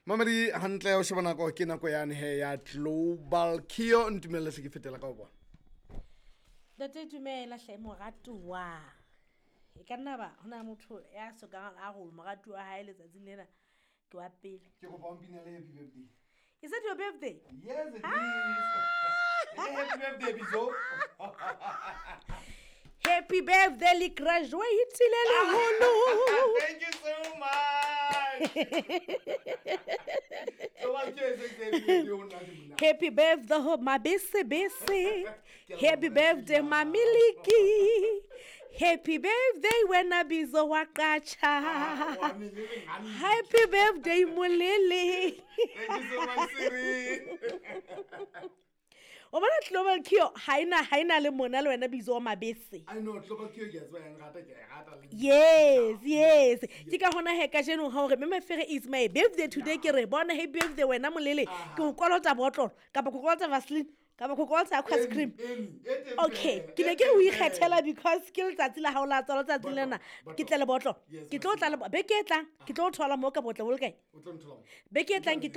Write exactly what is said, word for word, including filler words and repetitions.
Mamedi hantle o sheba nako ke nako yane he ya Global Kio ntumelle hle ke fetela ka ho bona. Ntate dumela hle moratuwa. E ka nna ba hona motho ya sokang a re moratuwa wa hae letsatsing lena ke wa pele. Ke kopa o mpinele happy birthday. Is it your birthday? Yes it is. Happy birthday Bizo. Happy birthday le graduate le leholo. Thank you so much. Global Kio is happy birthday ho nna ke mona. Happy birthday ho mabese bese. Happy birthday mamiliki. Happy birthday wena Bizo wa qacha. Wa melele hantle. Happy birthday Molele. Thank you so much Siri. O bona Global Kio ha ena ha ena le mona le wena Bizo wa mabese. I know Global Kio ke a tseba yang rata ke a e rata le. Yes, yes. Ke ka hona he kajeno ha hore Mme Mafere is my birthday today ke re bona happy birthday wena Molele. Ke o kolota botlolo kapa ke o kolota Vaseline kapa ke o kolota aqua cream. Eni, e teng Okay, feela, ke ne e ke re o teng ikgethela feela. because ke letsatsi la hao la tswalo letsatsi lena. Botlolo. Ke tle le botlolo. Yes, Ke tlo tla le beke e tlang, ke tlo o thola moo ka botle bo le kae? O tlo nthola mo. Beke e tlang ke